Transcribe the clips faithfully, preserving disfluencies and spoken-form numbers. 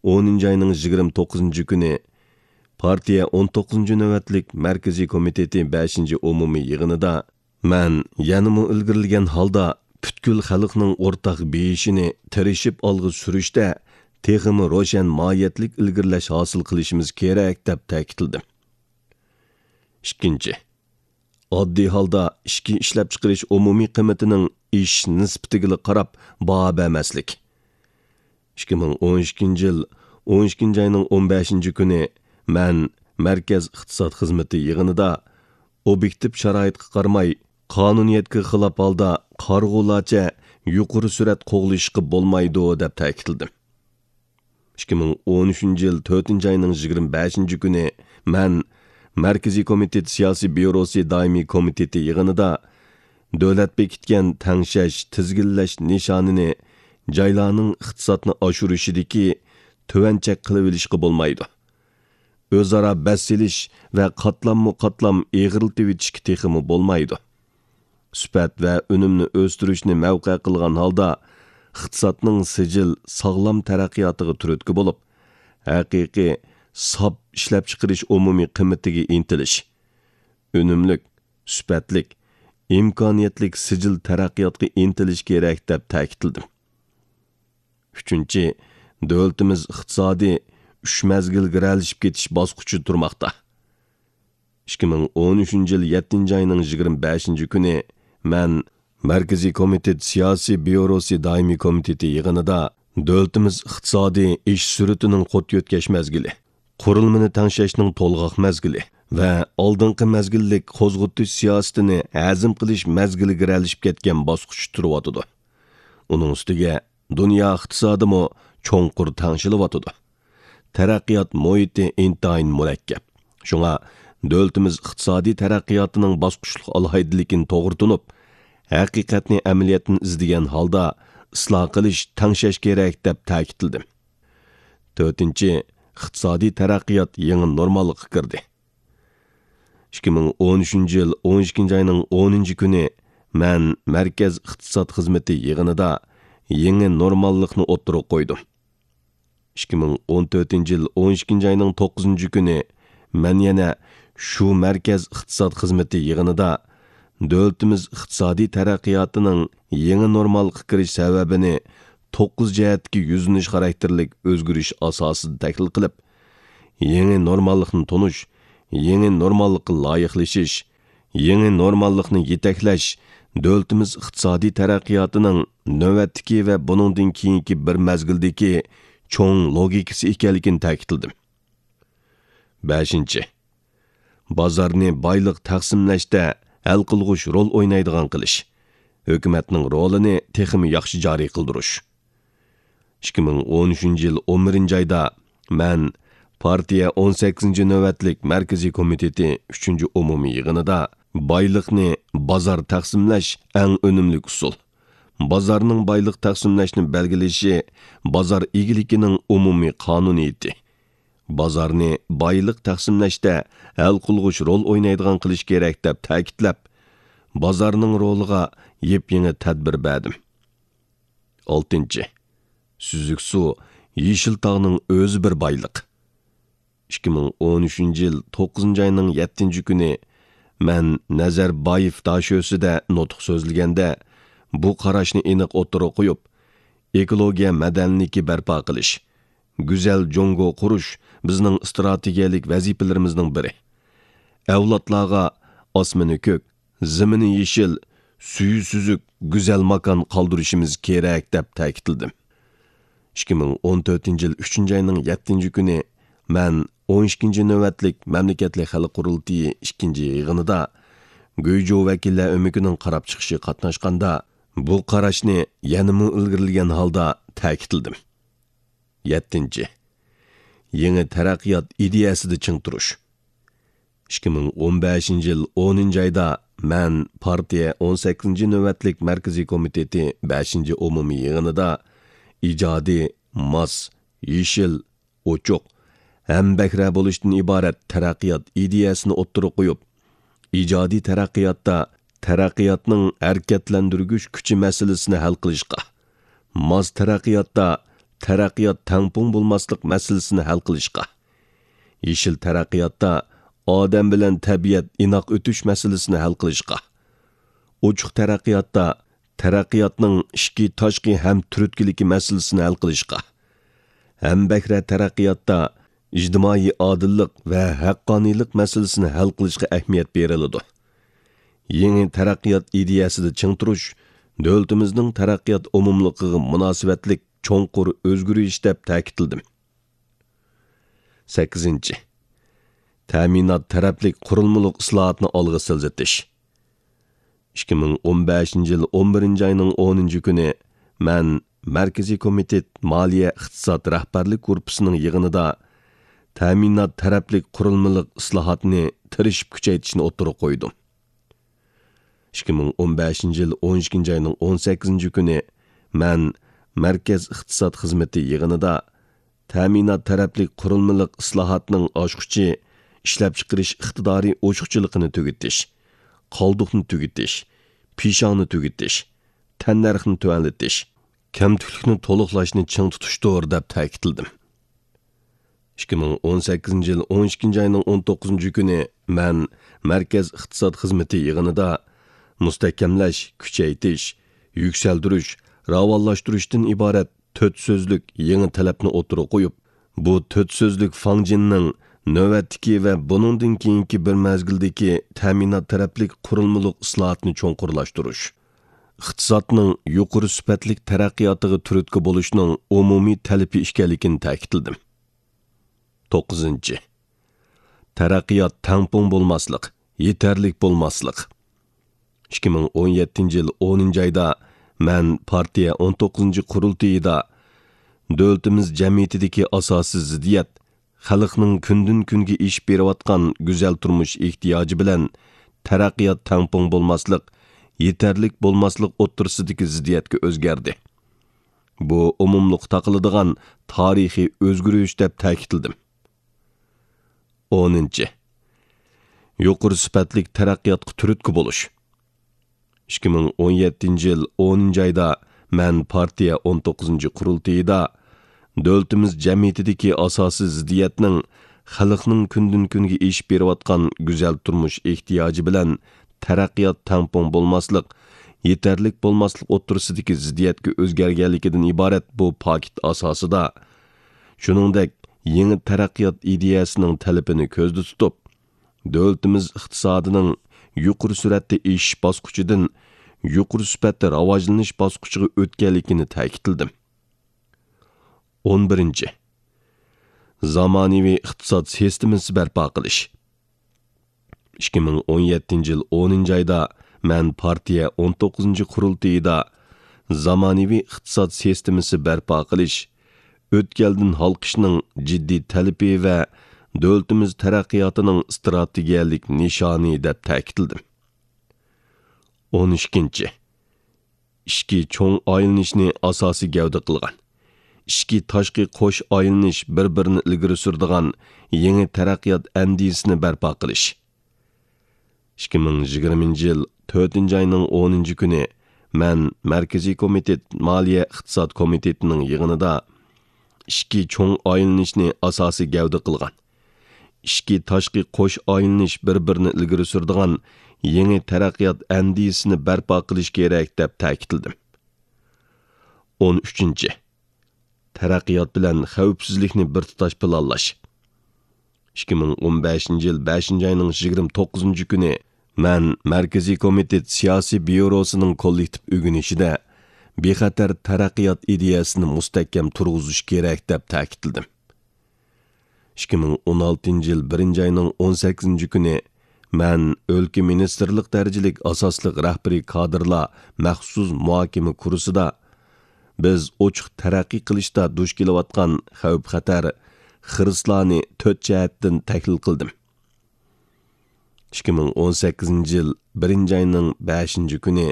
ئونىنچى ئاينىڭ يىگىرمە توققۇزىنچى كۈنى پارتىيە ئون توققۇزىنچى نۆۋەتلىك مەركىزىي كومىتېتى بەشىنچى ئومۇمىي يىغىنىدا مەن يەنىمۇ ئىلگىرىلىگەن ھالدا پۈتكۈل خەلقنىڭ ئورتاق بېيىشىنى تىرىشىپ ئالغا سۈرۈشتە تېخىمۇ روشەن ماھىيەتلىك ئىلگىرىلەش ھاسىل قىلىشىمىز كېرەك، دەپ تەكىتلىدىم. ئىككىنچى، ئاددىي ھالدا ئىچكى ئىشلەپچىقىرىش ئومۇمىي قىممىتىنىڭ ئېشىش نىسبىتىگىلا قاراپ باھا بەرمەسلىك. ئىككى مىڭ ئون ئىككىنچى يىل ئون ئىككىنچى ئاينىڭ ئون بەشىنچى كۈنى مەن مەركەز ئىقتىساد خىزمىتى يىغىنىدا ئوبيېكتىپ شارائىتقا قارىماي، قانۇنىيەتكە خىلاپ ھالدا قارىغۇلارچە يۇقىرى سۈرئەت قوغلىشىشقا بولمايدۇ، دەپ تەكىتلىدىم. ئىككى مىڭ ئون ئۈچىنچى يىل تۆتىنچى ئاينىڭ يىگىرمە بەشىنچى كۈنى مەن مەركىزىي كومىتېت سىياسىي بيۇروسى دائىمىي كومىتېتى يىغىنىدا دۆلەت بېكىتكەن تەڭشەش، تىزگىنلەش نىشانىنى جايلارنىڭ ئىقتىسادنى ئاشۇرۇشىدىكى تۆۋەن چەك قىلىۋېلىشقا بولمايدۇ. ئۆزئارا بەس سېلىش ۋە قاتلاممۇ قاتلام ئېغىرلىتىۋېتىشكە تېخىمۇ بولمايدۇ. سۈپەت ۋە ئۈنۈمنى ئۆستۈرۈشنى مەۋقە قىلغان ھالدا، ئىقتىسادنىڭ سىجىل، ساغلام تەرەققىياتىغا تۈرتكە بولۇپ، ھەقىقىي ساپ ئىشلەپچىقىرىش ئومۇمىي قىممىتىگە ئىنتىلىش، ئۈنۈملۈك، سۈپەتلىك، ئىمكانىيەتلىك سىجىل تەرەققىياتقا ئىنتىلىش كېرەك، دەپ تەكىتلىدىم. ئۈچىنچى، دۆلىتىمىز ئىقتىسادى ئۈچ مەزگىلگە رەلىشىپ كېتىش باسقۇچىدا تۇرماقتا. ئىككى مىڭ ئون ئۈچىنچى يىل يەتتىنچى ئاينىڭ يىگىرمە بەشىنچى كۈنى مەن مەركىزىي كومىتېت سىياسىي بيۇروسى دائىمىي كومىتېتى يىغىنىدا دۆلىتىمىز ئىقتىسادىي ئېشىش سۈرئىتىنىڭ قۇت يۆتكەش مەزگىلى، قۇرۇلمىنى تەڭشەشنىڭ تولغاق مەزگىلى ۋە ئالدىنقى مەزگىللىك قوزغىتىش سىياسىتىنى ھەزىم قىلىش مەزگىلىگە رەلىشىپ كەتكەن باسقۇچتا تۇرۇۋاتىدۇ. ئۇنىڭ ئۈستىگە دۇنيا ئىقتىسادىمۇ چوڭقۇر تەڭشىلىۋاتىدۇ. تەرەققىيات مۇھىتى ئىنتايىن مۇرەككەپ. شۇڭا دۆلىتىمىز ئىقتىسادىي تەرەققىياتىنىڭ باسقۇچلۇق ئالاھىدىلىكىنى توغرا تونۇپ، ھەقىقەتنى ئەمەلىيەتتىن ئىزدىگەن ھالدا ئىسلاھ قىلىش، تەڭشەش كېرەك، دەپ تەكىتلىدىم. تۆتىنچى، ئىقتىسادىي تەرەققىيات يېڭى نورماللىققا كىردى. ئىككى مىڭ ئون ئۈچىنچى يىل ئون ئىككىنچى ئاينىڭ ئونىنچى كۈنى مەن مەركەز ئىقتىساد خىزمىتى يىغىنىدا يېڭى نورماللىقنى ئوتتۇرىغا قويدۇم. ئىككى مىڭ ئون تۆتىنچى يىل ئون ئىككىنچى ئاينىڭ توققۇزىنچى كۈنى مەن يەنە شۇ مەركەز ئىقتىساد خىزمىتى يىغىنىدا دۆلىتىمىز ئىقتىسادىي تەرەققىياتىنىڭ يېڭى نورماللىققا كىرىش سەۋەبىنى توققۇز جەھەتتىكى يۈزلىنىش خاراكتېرلىك ئۆزگىرىش ئاساسىدا تەھلىل قىلىپ، يېڭى نورماللىقنى تونۇش، يېڭى نورماللىققا لايىقلىشىش، يېڭى نورماللىقنى يېتەكلەش دۆلىتىمىز ئىقتىسادىي تەرەققىياتىنىڭ نۆۋەتتىكى ۋە بۇنىڭدىن كېيىنكى بىر مەزگىلدىكى چوڭ لوگىكىسى ئىكەنلىكىنى تەكىتلىدىم. بەشىنچى، بازارنى بايلىق تەقسىملەشتە ھەل قىلغۇچ رول ئوينايدىغان قىلىش، ھۆكۈمەتنىڭ رولىنى تېخىمۇ ياخشى جارى قىلدۇرۇش. ئىككى مىڭ ئون ئۈچىنچى يىل ئون بىرىنچى ئايدا مەن پارتىيە ئون سەككىزىنچى نۆۋەتلىك مەركىزىي كومىتېتى ئۈچىنچى ئومۇمىي يىغىنىدا بايلىقنى بازار تەقسىملەش ئەڭ ئۈنۈملۈك ئۇسۇل، بازارنىڭ بايلىق تەقسىملەشنى بەلگىلىشى بازار ئىگىلىكىنىڭ ئومۇمىي قانۇنىيىتى، بازارنى بايلىق تەقسىملەشتە ھەل قىلغۇچ رول ئوينايدىغان قىلىش كېرەك، دەپ تەكىتلەپ، بازارنىڭ رولىغا يېپيېڭى تەدبىر بەردىم. ئالتىنچى، سۈزۈك سۇ، يېشىل تاغنىڭ ئۆزى بىر بايلىق. ئىككى مىڭ ئون ئۈچىنچى يىل توققۇزىنچى ئاينىڭ يەتتىنچى كۈنى مەن نەزەربايېف داشۆسىدە نۇتۇق سۆزلىگەندە، بۇ قاراشنى ئېنىق ئوتتۇرىغا قويۇپ، ئېكولوگىيە مەدەنىيلىكى بەرپا قىلىش، گۈزەل جۇڭگو قۇرۇش بىزنىڭ ئىستراتېگىيەلىك ۋەزىپىلىرىمىزنىڭ بىرى. ئەۋلادلارغا ئاسمىنى كۆك، زېمىنى يېشىل، سۈيى سۈزۈك، گۈزەل ماكان قالدۇرۇشىمىز كېرەك، دەپ تەكىتلىدىم. ئىككى مىڭ ئون تۆتىنچى يىل ئۈچىنچى ئاينىڭ يەتتىنچى كۈنى مەن ئون ئىككىنچى نۆۋەتلىك مەملىكەتلىك خەلق قۇرۇلتىيى ئىككىنچى يىغىنىدا گۇيجۇ ۋەكىللەر ئۆمىكىنىڭ قاراپ چىقىشىغا قاتناشقاندا، بۇ قاراشنى يەنىمۇ ئىلگىرىلىگەن ھالدا تەكىتلىدىم. يەتتىنچى، يېڭى تەرەققىيات ئىدىيەسىدە چىڭ تۇرۇش. ئىككى مىڭ ئون بەشىنچى يىل ئونىنچى ئايدا مەن پارتىيە ئون سەككىزىنچى نۆۋەتلىك مەركىزىي كومىتېتى بەشىنچى ئومۇمىي يىغىنىدا ئىجادىي، ماس، يېشىل، ئوچۇق، ھەمبەھرە بولۇشتىن ئىبارەت تەرەققىيات ئىدىيەسىنى ئوتتۇرىغا قويۇپ، ئىجادىي تەرەققىياتتا تەرەققىياتنىڭ ھەرىكەتلەندۈرگۈچ كۈچى مەسىلىسىنى ھەل قىلىشقا، ماس تەرەققىياتتا تەرەققىيات تەڭپۇڭ بولماسلىق مەسىلىسىنى ھەل قىلىشقا، يېشىل تەرەققىياتتا ئادەم بىلەن تەبىئەت ئىناق ئۆتۈش مەسىلىسىنى ھەل قىلىشقا، ئوچۇق تەرەققىياتتا تەرەققىياتنىڭ ئىچكى، تاشقى ھەم تۈرتكىلىكى مەسىلىسىنى ھەل قىلىشقا، ھەمبەھرە تەرەققىياتتا ئىجتىمائىي ئادىللىق ۋە ھەققانىيلىق مەسىلىسىنى ھەل قىلىشقا ئەھمىيەت بېرىلىدۇ. يېڭى تەرەققىيات ئىدىيەسىدە چىڭ تۇرۇش دۆلىتىمىزنىڭ تەرەققىيات ئومۇملۇقىغا مۇناسىۋەتلىك چوڭقۇر ئۆزگىرىش دەپ تەكىتلىدىم. سەككىزىنچى، تەمىنات تەرەپلىك قۇرۇلمىلىق ئىسلاھاتنى ئالغا سىلجىتىش. ئىككى مىڭ ئون بەشىنچى يىل ئون بىرىنچى ئاينىڭ ئونىنچى كۈنى مەن مەركىزىي كومىتېت مالىيە ئىقتىساد رەھبەرلىك گۇرۇپپىسىنىڭ يىغىنىدا تەمىنات تەرەپلىك قۇرۇلمىلىق ئىسلاھاتنى تىرىشىپ كۈچەيتىشنى ئوتتۇرىغا قويدۇم. ئىككى مىڭ ئون بەشىنچى يىل ئون ئىككىنچى ئاينىڭ ئون سەككىزىنچى كۈنى مەن مەركەز ئىقتىساد خىزمىتى يىغىنىدا تەمىنات تەرەپلىك قۇرۇلمىلىق ئىسلاھاتنىڭ ئاچقۇچى ئىشلەپچىقىرىش ئىقتىدارى ئوشۇقچىلىقىنى تۈگىتىش، قالدۇقنى تۈگىتىش، پىشاڭنى تۈگىتىش، تەننەرخنى تۆۋەنلىتىش، كەمتۈكلۈكنى تولۇقلاشنى چىڭ تۇتۇشتۇر، دەپ تەكىتلىدىم. ئىككى مىڭ ئون سەككىزىنچى يىل ئون ئىككىنچى ئاينىڭ ئون توققۇزىنچى كۈنى مەن مەركەز ئىقتىساد خىزمىتى يىغىنىدا مۇستەھكەملەش، كۈچەيتىش، يۈكسەلدۈرۈش، راۋانلاشتۇرۇشتىن ئىبارەت تۆت سۆزلۈك يېڭى تەلەپنى ئوتتۇرىغا قويۇپ، بۇ تۆت سۆزلۈك فاڭجىننىڭ نۆۋەتتىكى ۋە بۇنىڭدىن كېيىنكى بىر مەزگىلدىكى تەمىنات تەرەپلىك قۇرۇلمىلىق ئىسلاھاتنى چوڭقۇرلاشتۇرۇش، ئىقتىسادنىڭ يۇقىرى سۈپەتلىك تەرەققىياتىغا تۈرتكە بولۇشنىڭ ئومۇمىي تەلىپى ئىكەنلىكىنى تەكىتلىدىم. توققۇزىنچى، تەرەققىيات تەڭپۇڭ بولماسلىق، يېتەرلىك بولماسلىق. ئىككى مىڭ ئون يەتتىنچى يىل ئونىنچى ئايدا مەن پارتىيە ئون توققۇزىنچى قۇرۇلتىيىدا دۆلىتىمىز جەمئىيىتىدىكى ئاساسىي زىددىيەت، خەلقنىڭ كۈندىن-كۈنگە ئېشىپ بېرىۋاتقان گۈزەل تۇرمۇش ئېھتىياجى بىلەن تەرەققىيات تەڭپۇڭ بولماسلىق، يېتەرلىك بولماسلىق ئوتتۇرىسىدىكى زىددىيەتكە ئۆزگەردى. بۇ ئومۇملۇققا تاقىلىدىغان تارىخىي ئۆزگىرىش دەپ تەكىتلىدىم. ئونىنچى، يۇقىرى سۈپەتلىك تەرەققىياتقا تۈرتكە بولۇش. ئىككى مىڭ ئون يەتتىنچى يىل ئونىنچى ئايدا مەن پارتىيە ئون توققۇزىنچى قۇرۇلتىيىدا دۆلىتىمىز جەمئىيىتىدىكى ئاساسىي زىددىيەتنىڭ خەلقنىڭ كۈندىن-كۈنگە ئېشىپ بېرىۋاتقان گۈزەل تۇرمۇش ئېھتىياجى بىلەن تەرەققىيات تەڭپۇڭ بولماسلىق، يېتەرلىك بولماسلىق ئوتتۇرىسىدىكى زىددىيەتكە ئۆزگەرگەنلىكىدىن ئىبارەت بۇ پاكىت ئاساسىدا، شۇنىڭدەك يېڭى تەرەققىيات ئىدىيەسىنىڭ تەلىپىنى كۆزدە تۇتۇپ، دۆلىتىمىز ئىقتىسادىنىڭ يۇقىرى سۈرئەتتە ئېشىش باسقۇچىدىن يۇقىرى سۈپەتتە راۋاجلىنىش باسقۇچىغا ئۆتكەنلىكىنى تەكىتلىدىم. ئون بىرىنچى، زامانىۋى ئىقتىساد سىستېمىسى بەرپا قىلىش. ئىككى مىڭ ئون يەتتىنچى يىل ئونىنچى ئايدا مەن پارتىيە ئون توققۇزىنچى قۇرۇلتىيىدا زامانىۋى ئىقتىساد سىستېمىسى بەرپا قىلىش، ئۆتكەلدىن ھالقىشنىڭ جىددىي تەلىپى ۋە دۆلىتىمىز تەرەققىياتىنىڭ ئىستراتېگىيەلىك نىشانى دەپ تەكىتلىدىم. ئون ئىككىنچى، ئىچكى چوڭ ئايلىنىشنى ئاساسىي گەۋدە قىلغان، ئىچكى تاشقى قوش ئايلىنىش بىر-بىرىنى ئىلگىرى سۈرىدىغان يېڭى تەرەققىيات ئەندىزىسىنى بەرپا قىلىش. ئىككى مىڭ يىگىرمىنچى يىل تۆتىنچى ئاينىڭ ئونىنچى كۈنى مەن مەركىزىي كومىتېت مالىيە ئىقتىساد كومىتېتىنىڭ يىغىنىدا ئىچكى چوڭ ئايلىنىشنى ئاساسىي گەۋدە قىلغان، ئىچكى تاشقى قوش ئايلىنىش بىر-بىرىنى ئىلگىرى سۈرىدىغان يېڭى تەرەققىيات ئەندىزىسىنى بەرپا قىلىش كېرەك، دەپ تەكىتلىدىم. ئون ئۈچىنچى، تەرەققىيات بىلەن خەۋپسىزلىكنى بىر تۇتاش پىلانلاش. ئىككى مىڭ ئون بەشىنچى يىل بەشىنچى ئاينىڭ يىگىرمە توققۇزىنچى كۈنى مەن مەركىزىي كومىتېت سىياسىي بيۇروسىنىڭ كوللېكتىپ ئۆگىنىشىدە بىخەتەر تەرەققىيات ئىدىيەسىنى مۇستەھكەم تۇرغۇزۇش كېرەك، دەپ تەكىتلىدىم. ئىككى مىڭ ئون ئالتىنچى يىل بىرىنچى ئاينىڭ ئون سەككىزىنچى كۈنى مەن ئۆلكە مىنىستىرلىق دەرىجىلىك ئاساسلىق رەھبىرىي كادىرلار مەخسۇس مۇھاكىمە كۇرسىدا بىز ئوچۇق تەرەققىي قىلىشتا دۇچ كېلىۋاتقان خەۋپ-خەتەر، خىرىسلارنى تۆت جەھەتتىن تەھلىل قىلدىم. ئىككى مىڭ ئون سەككىزىنچى يىل بىرىنچى ئاينىڭ بەشىنچى كۈنى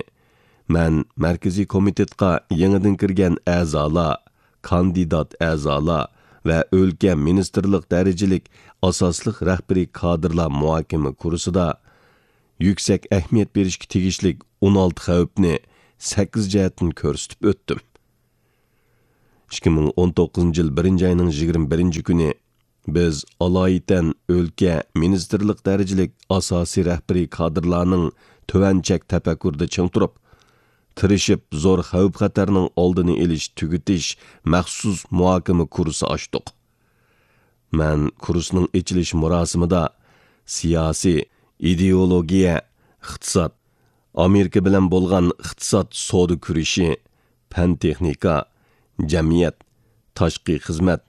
مەن مەركىزىي كومىتېتقا يېڭىدىن كىرگەن ئەزالار، كاندىدات ئەزالار ۋە ئۆلكە مىنىستىرلىق دەرىجىلىك ئاساسلىق رەھبىرىي كادىرلار مۇھاكىمە كۇرسىدا يۈكسەك ئەھمىيەت بېرىشكە تېگىشلىك ئون ئالتە خەۋپنى سەككىز جەھەتتىن كۆرسىتىپ ئۆتتۈم. ئىككى مىڭ ئون توققۇزىنچى يىل بىرىنچى ئاينىڭ يىگىرمە بىرىنچى كۈنى بىز ئالايىتەن ئۆلكە، مىنىستىرلىق دەرىجىلىك ئاساسىي رەھبىرىي كادىرلارنىڭ تۆۋەن چەك تەپەككۇرىدا چىڭ تۇرۇپ، تىرىشىپ زور خەۋپ-خەتەرنىڭ ئالدىنى ئېلىش، تۈگىتىش مەخسۇس مۇھاكىمە كۇرسى ئاچتۇق. مەن كۇرسنىڭ ئېچىلىش مۇراسىمىدا سىياسىي، ئىدېئولوگىيە، ئىقتىساد، ئامېرىكا بىلەن بولغان ئىقتىساد سودا كۈرىشى، پەن-تېخنىكا، جەمئىيەت، تاشقى خىزمەت،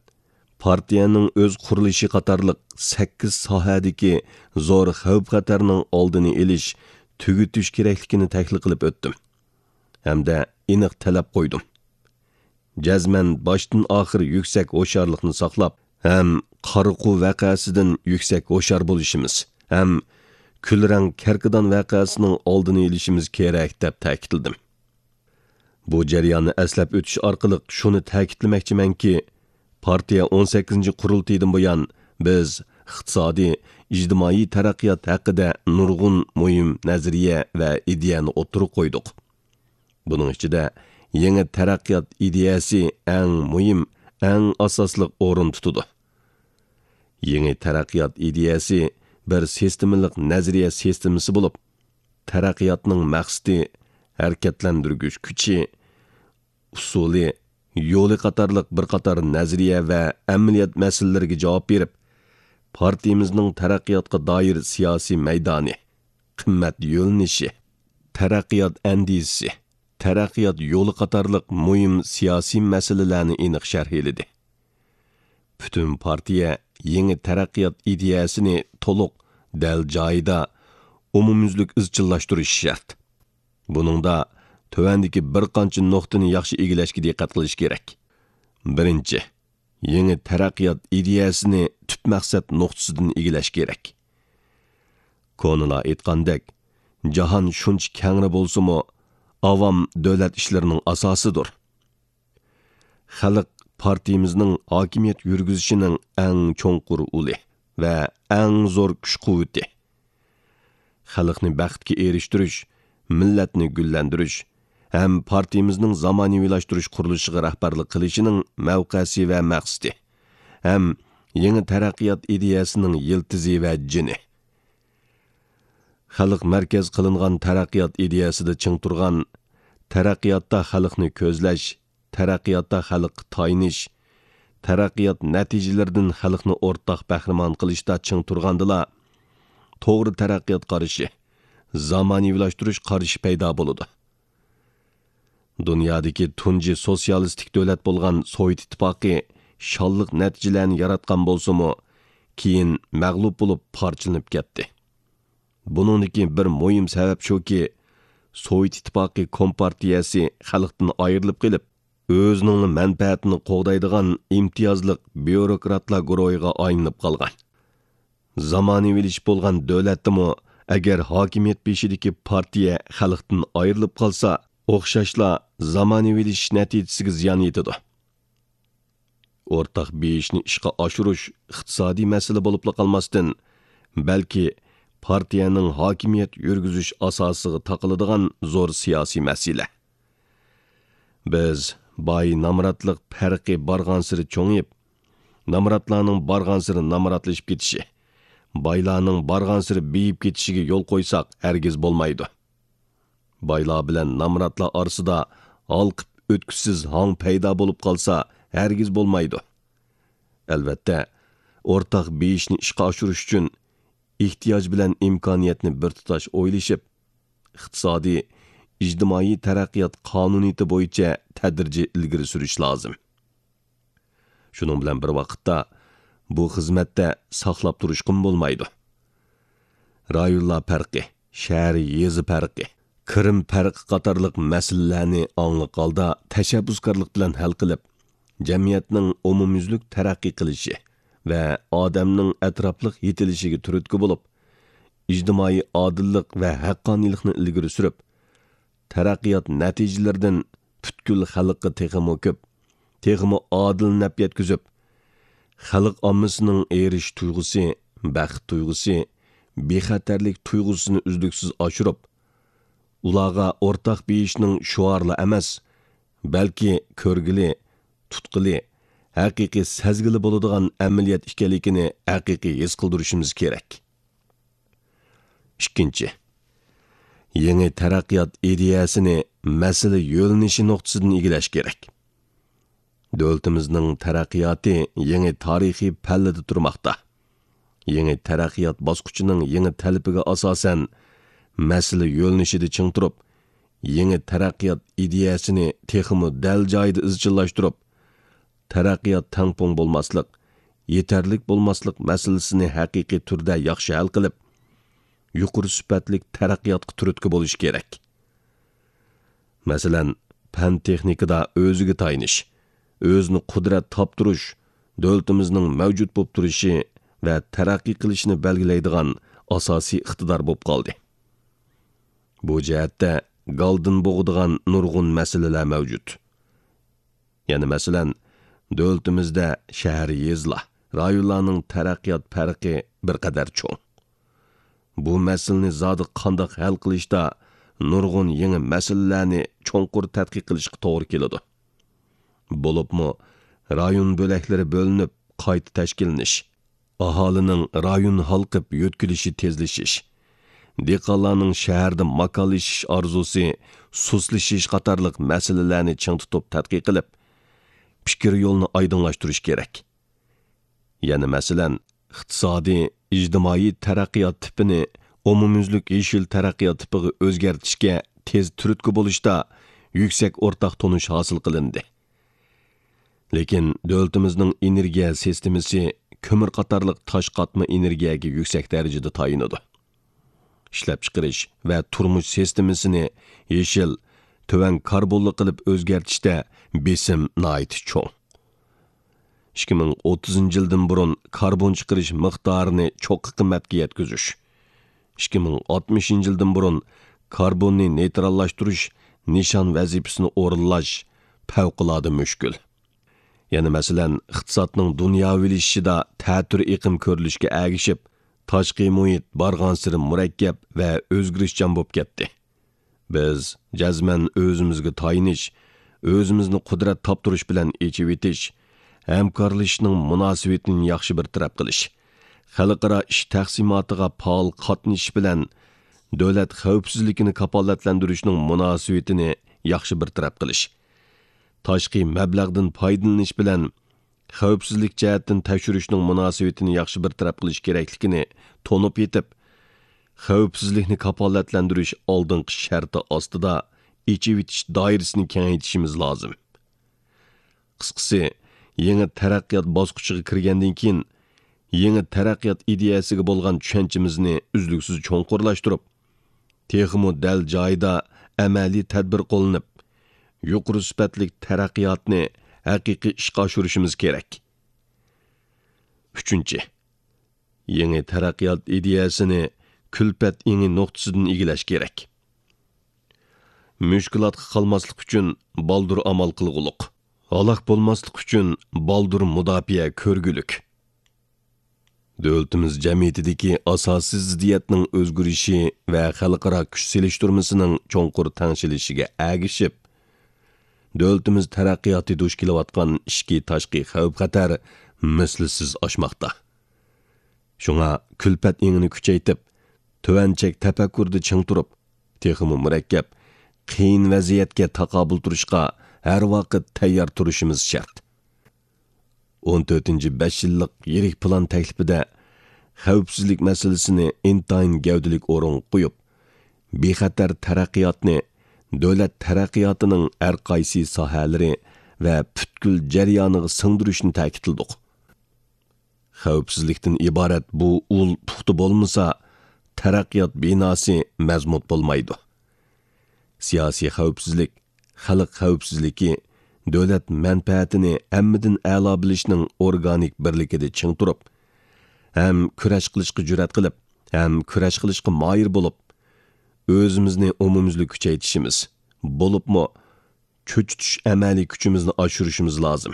پارتىيەنىڭ ئۆز قۇرۇلۇشى قاتارلىق سەككىز ساھەدىكى زور خەۋپ-خەتەرنىڭ ئالدىنى ئېلىش، تۈگىتىش كېرەكلىكىنى تەھلىل قىلىپ ئۆتتۈم ھەمدە ئېنىق تەلەپ قويدۇم. جەزمەن باشتىن ئاخىر يۈكسەك ھوشيارلىقنى ساقلاپ ھەم قارىقۇ ۋەقەسىدىن يۈكسەك ھوشيار بولۇشىمىز ھەم كۈلرەڭ كەركىدان ۋەقەسىنىڭ ئالدىنى ئېلىشىمىز كېرەك، دەپ تەكىتلىدىم. بۇ جەرياننى ئەسلەپ ئۆتۈش ئارقىلىق شۇنى تەكىتلىمەكچىمەنكى، پارتىيە ئون سەككىزىنچى قۇرۇلتىيىدىن بۇيان، بىز ئىقتىسادىي، ئىجتىمائىي تەرەققىيات ھەققىدە نۇرغۇن مۇھىم نەزەرىيە ۋە ئىدىيەنى ئوتتۇرىغا قويدۇق. بۇنىڭ ئىچىدە يېڭى تەرەققىيات ئىدىيەسى ئەڭ مۇھىم، ئەڭ ئاساسلىق ئورۇن تۇتىدۇ. يېڭى تەرەققىيات ئىدىيەسى بىر سىستېمىلىق نەزەرىيە سىستېمىسى بولۇپ، تەرەققىياتنىڭ مەقسىتى، ھەرىكەتلەندۈرگۈچ كۈچى، ئۇسۇلى، يولى قاتارلىق بىر قاتار نەزەرىيە ۋە ئەمەلىيەت مەسىلىلىرىگە جاۋاب بېرىپ، پارتىيىمىزنىڭ تەرەققىياتقا دائىر سىياسىي مەيدانى، قىممەت يۆنىلىشى، تەرەققىيات ئەندىزىسى، تەرەققىيات يولى قاتارلىق مۇھىم سىياسىي مەسىلىلەرنى ئېنىق شەرھلىدى. پۈتۈن پارتىيە يېڭى تەرەققىيات ئىدىيەسىنى تولۇق، دەل جايىدا، ئومۇميۈزلۈك ئىزچىللاشتۇرۇشى شەرت. بۇنىڭدا تۆۋەندىكى بىر قانچە نۇقتىنى ياخشى ئىگىلەشكە دىققەت قىلىش كېرەك. بىرىنچى، يېڭى تەرەققىيات ئىدىيەسىنى تۈپ مەقسەت نۇقتىسىدىن ئىگىلەش كېرەك. كونىلار ئېيتقاندەك، جاھان شۇنچە كەڭرى بولسىمۇ، ئاۋام دۆلەت ئىشلىرىنىڭ ئاساسىدۇر. خەلق پارتىيىمىزنىڭ ھاكىمىيەت يۈرگۈزۈشىنىڭ ئەڭ چوڭقۇر ئۇلى ۋە ئەڭ زور كۈچ-قۇۋۋىتى. خەلقنى بەختكە ئېرىشتۈرۈش، مىللەتنى گۈللەندۈرۈش ھەم پارتىيىمىزنىڭ زامانىۋىلاشتۇرۇش قۇرۇلۇشىغا رەھبەرلىك قىلىشىنىڭ مەۋقەسى ۋە مەقسىتى ھەم يېڭى تەرەققىيات ئىدىيەسىنىڭ يىلتىزى ۋە جېنى. خەلق مەركەز قىلىنغان تەرەققىيات ئىدىيەسىدە چىڭ تۇرغان، تەرەققىياتتا خەلقنى كۆزلەش، تەرەققىياتتا خەلققە تايىنىش، تەرەققىيات نەتىجىلىرىدىن خەلقنى ئورتاق بەھرىمەن قىلىشتا چىڭ تۇرغاندىلا، توغرا تەرەققىيات قارىشى، زامانىۋىلاشتۇرۇش قارىشى پەيدا بولىدۇ. دۇنيادىكى تۇنجى سوتسىيالىستىك دۆلەت بولغان سوۋېت ئىتتىپاقى شانلىق نەتىجىلەرنى ياراتقان بولسىمۇ، كېيىن مەغلۇپ بولۇپ پارچىلىنىپ كەتتى. بۇنىڭدىكى بىر مۇھىم سەۋەب شۇكى، سوۋېت ئىتتىپاقى كومپارتىيەسى خەلقتىن ئايرىلىپ قېلىپ، ئۆزىنىڭلا مەنپەئەتىنى قوغدايدىغان ئىمتىيازلىق بيۇروكراتلار گۇرۇھىغا ئايلىنىپ قالغان. زامانىۋىلىشىپ بولغان دۆلەتتىمۇ، ئەگەر ھاكىمىيەت بېشىدىكى پارتىيە خەلقتىن ئايرىلىپ قالسا، ئوخشاشلا زامانىۋىلىشىش نەتىجىسىگە زىيان يېتىدۇ. ئورتاق بېيىشنى ئىشقا ئاشۇرۇش ئىقتىسادىي مەسىلە بولۇپلا قالماستىن، بەلكى پارتىيەنىڭ ھاكىمىيەت يۈرگۈزۈش ئاساسىغا تاقىلىدىغان زور سىياسىي مەسىلە. بىز باي نامراتلىق پەرقى بارغانسېرى چوڭىيىپ، نامراتلارنىڭ بارغانسېرى نامراتلىشىپ كېتىشى، بايلارنىڭ بارغانسېرى بېيىپ كېتىشىگە يول قويساق ھەرگىز بولمايدۇ. بايلار بىلەن نامراتلار ئارىسىدا ھالقىپ ئۆتكۈسىز ھاڭ پەيدا بولۇپ قالسا ھەرگىز بولمايدۇ. ئەلۋەتتە، ئورتاق بېيىشنى ئىشقا ئاشۇرۇش ئۈچۈن ئېھتىياج بىلەن ئىمكانىيەتنى بىر تۇتاش ئويلىشىپ، ئىقتىسادىي، ئىجتىمائىي تەرەققىيات قانۇنىيىتى بويىچە تەدرىجىي ئىلگىرى سۈرۈش لازىم. شۇنىڭ بىلەن بىر ۋاقىتتا، بۇ خىزمەتتە ساقلاپ تۇرۇشقىمۇ بولمايدۇ. رايونلار پەرقى، شەھەر، يېزا پەرقى، كىرىم پەرقى قاتارلىق مەسىلىلەرنى ئاڭلىق ھالدا تەشەببۇسكارلىق بىلەن ھەل قىلىپ، جەمئىيەتنىڭ ئومۇميۈزلۈك تەرەققىي قىلىشى ۋە ئادەمنىڭ ئەتراپلىق يېتىلىشىگە تۈرتكە بولۇپ، ئىجتىمائىي ئادىللىق ۋە ھەققانىيلىقنى ئىلگىرى سۈرۈپ، تەرەققىيات نەتىجىلىرىدىن پۈتكۈل خەلققە تېخىمۇ كۆپ، تېخىمۇ ئادىل نەپ يەتكۈزۈپ، خەلق ئاممىسىنىڭ ئېرىشىش تۇيغۇسى، بەخت تۇيغۇسى، بىخەتەرلىك تۇيغۇسىنى ئۈزلۈكسىز ئاشۇرۇپ، ئۇلارغا ئورتاق بېيىشنىڭ شوئارلا ئەمەس، بەلكى كۆرگىلى، تۇتقىلى، ھەقىقىي سەزگىلى بولىدىغان ئەمەلىيەت ئىكەنلىكىنى ھەقىقىي ھېس قىلدۇرۇشىمىز كېرەك. ئىككىنچى، يېڭى تەرەققىيات ئىدىيەسىنى مەسىلە يۆنىلىشى نۇقتىسىدىن ئىگىلەش كېرەك. دۆلىتىمىزنىڭ تەرەققىياتى يېڭى تارىخىي پەللىدە تۇرماقتا. يېڭى تەرەققىيات باسقۇچىنىڭ يېڭى تەلىپىگە ئاساسەن، مەسىلە يۆنىلىشىدە چىڭ تۇرۇپ، يېڭى تەرەققىيات ئىدىيەسىنى تېخىمۇ دەل جايىدا ئىزچىللاشتۇرۇپ، تەرەققىيات تەڭپۇڭ بولماسلىق، يېتەرلىك بولماسلىق مەسىلىسىنى ھەقىقىي تۈردە ياخشى ھەل قىلىپ، يۇقىرى سۈپەتلىك تەرەققىياتقا تۈرتكە بولۇش كېرەك. مەسىلەن، پەن-تېخنىكىدا ئۆزىگە تايىنىش، ئۆزىنى قۇدرەت تاپتۇرۇش دۆلىتىمىزنىڭ مەۋجۇت بولۇپ تۇرۇشى ۋە تەرەققىي قىلىشىنى بەلگىلەيدىغان ئاساسىي ئىقتىدار بولۇپ قالدى. بۇ جەھەتتە گالدىن بوغىدىغان نۇرغۇن مەسىلىلەر مەۋجۇت. يەنە مەسىلەن، دۆلىتىمىزدە شەھەر، يېزىلار، رايونلارنىڭ تەرەققىيات پەرقى بىر قەدەر چوڭ. بۇ مەسىلىنى زادى قانداق ھەل قىلىشتا نۇرغۇن يېڭى مەسىلىلەرنى چوڭقۇر تەتقىق قىلىشقا توغرا كېلىدۇ. بولۇپمۇ رايون بۆلەكلىرى بۆلۈنۈپ قايتا تەشكىللىنىش، ئاھالىنىڭ رايون ھالقىپ يۆتكىلىشى تېزلىشىش، دېھقانلارنىڭ شەھەردە ماكانلىشىش ئارزۇسى سۇسلىشىش قاتارلىق مەسىلىلەرنى چىڭ تۇتۇپ تەتقىق قىلىپ، پىكىر يولىنى ئايدىڭلاشتۇرۇش كېرەك. يەنە مەسىلەن، ئىقتىسادىي، ئىجتىمائىي تەرەققىيات تىپىنى ئومۇميۈزلۈك يېشىل تەرەققىيات تىپىغا ئۆزگەرتىشكە تېز تۈرتكە بولۇشتا يۈكسەك ئورتاق تونۇش ھاسىل قىلىندى. لېكىن دۆلىتىمىزنىڭ ئېنېرگىيە سىستېمىسى كۆمۈر قاتارلىق تاش قاتما ئېنېرگىيەگە يۈكسەك دەرىجىدە تايىنىدۇ. ئىشلەپچىقىرىش ۋە تۇرمۇش سىستېمىسىنى يېشىل، تۆۋەن كاربونلۇق قىلىپ ئۆزگەرتىشتە بېسىم ناھايىتى چوڭ. ئىككى مىڭ ئوتتۇزىنچى يىلدىن بۇرۇن كاربون چىقىرىش مىقدارىنى چوققا قىممەتكە يەتكۈزۈش، ئىككى مىڭ ئاتمىشىنچى يىلدىن بۇرۇن كاربوننى نېيتراللاشتۇرۇش نىشان ۋەزىپىسىنى ئورۇنلاش پەۋقۇلئاددە مۈشكۈل. يەنە مەسىلەن، ئىقتىسادنىڭ دۇنياۋىلىشىشىدا تەتۈر ئېقىم كۆرۈلۈشكە ئەگىشىپ، تاشقى مۇھىت بارغانسېرى مۇرەككەپ ۋە ئۆزگىرىشچان بولۇپ كەتتى. بىز جەزمەن ئۆزىمىزگە تايىنىش، ئۆزىمىزنى قۇدرەت تاپتۇرۇش بىلەن ئېچىۋېتىش، ھەمكارلىشىشنىڭ مۇناسىۋىتىنى ياخشى بىر تەرەپ قىلىش، خەلقئارا ئىش تەقسىماتىغا پائال قاتنىشىش بىلەن دۆلەت خەۋپسىزلىكىنى كاپالەتلەندۈرۈشنىڭ مۇناسىۋىتىنى ياخشى بىر تەرەپ قىلىش، تاشقى مەبلەغدىن پايدىلىنىش بىلەن خەۋپسىزلىك جەھەتتىن تەكشۈرۈشنىڭ مۇناسىۋىتىنى ياخشى بىر تەرەپ قىلىش كېرەكلىكىنى تونۇپ يېتىپ، خەۋپسىزلىكنى كاپالەتلەندۈرۈش ئالدىنقى شەرتى ئاستىدا ئېچىۋېتىش دائىرىسىنى كېڭەيتىشىمىز لازىم. قىسقىسى، يېڭى تەرەققىيات باسقۇچىغا كىرگەندىن كېيىن، يېڭى تەرەققىيات ئىدىيەسىگە بولغان چۈشەنچىمىزنى ئۈزلۈكسىز چوڭقۇرلاشتۇرۇپ، تېخىمۇ دەل جايىدا ئەمەلىي تەدبىر قوللىنىپ، يۇقىرى سۈپەتلىك تەرەققىياتنى ھەقىقىي ئىشقا ئاشۇرۇشىمىز كېرەك. ئۈچىنچى، يېڭى تەرەققىيات ئىدىيەسىنى كۈلپەت ئېڭى نۇقتىسىدىن ئىگىلەش كېرەك. مۈشكۈلاتقا قالماسلىق ئۈچۈن بالدۇر ئامال قىلغۇلۇق. ھالاك بولماسلىق ئۈچۈن بالدۇر مۇداپىئە كۆرگۈلۈك. دۆلىتىمىز جەمئىيىتىدىكى ئاساسىي زىددىيەتنىڭ ئۆزگىرىشى ۋە خەلقئارا كۈچ سېلىشتۇرمىسىنىڭ چوڭقۇر تەڭشىلىشىگە ئەگىشىپ، دۆلىتىمىز تەرەققىياتى دۇچ كېلىۋاتقان ئىچكى تاشقى خەۋپ-خەتەر مىسلىسىز ئاشماقتا. شۇڭا كۈلپەت ئېڭىنى كۈچەيتىپ، تۆۋەن چەك تەپەككۇرىدا چىڭ تۇرۇپ، تېخىمۇ مۇرەككەپ، قىيىن ۋەزىيەتكە تاقابىل تۇرۇشقا ھەر ۋاقىت تەييار تۇرۇشىمىز شەرت. ئون تۆتىنچى بەش يىللىق يىرىك پىلان تەكلىپىدە خەۋپسىزلىك مەسىلىسىنى ئىنتايىن گەۋدىلىك ئورۇنغا قويۇپ، بىخەتەر تەرەققىياتنى دۆلەت تەرەققىياتىنىڭ ھەر قايسى ساھەلىرى ۋە پۈتكۈل جەريانىغا سىڭدۈرۈشنى تەكىتلىدۇق. خەۋپسىزلىكتىن ئىبارەت بۇ ئۇل پۇختا بولمىسا، تەرەققىيات بىناسى مەزمۇت بولمايدۇ. سىياسىي خەۋپسىزلىك، خەلق خەۋپسىزلىكى، دۆلەت مەنپەئەتىنى ھەممىدىن ئەلا بىلىشنىڭ ئورگانىك بىرلىكىدە چىڭ تۇرۇپ، ھەم كۈرەش قىلىشقا جۈرئەت قىلىپ، ھەم كۈرەش قىلىشقا ماھىر بولۇپ، ئۆزىمىزنى ئومۇميۈزلۈك كۈچەيتىشىمىز، بولۇپمۇ چۆچۈتۈش ئەمەلىي كۈچىمىزنى ئاشۇرۇشىمىز لازىم.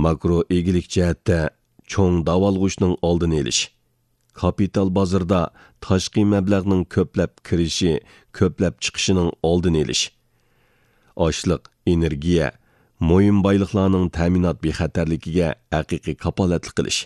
ماكرو ئىگىلىك جەھەتتە چوڭ داۋالغۇشنىڭ ئالدىنى ئېلىش، كاپىتال بازىرىدا تاشقى مەبلەغنىڭ كۆپلەپ كىرىشى، كۆپلەپ چىقىشىنىڭ ئالدىنى ئېلىش، ئاشلىق، ئېنېرگىيە، مۇھىم بايلىقلارنىڭ تەمىنات بىخەتەرلىكىگە ھەقىقىي كاپالەتلىك قىلىش،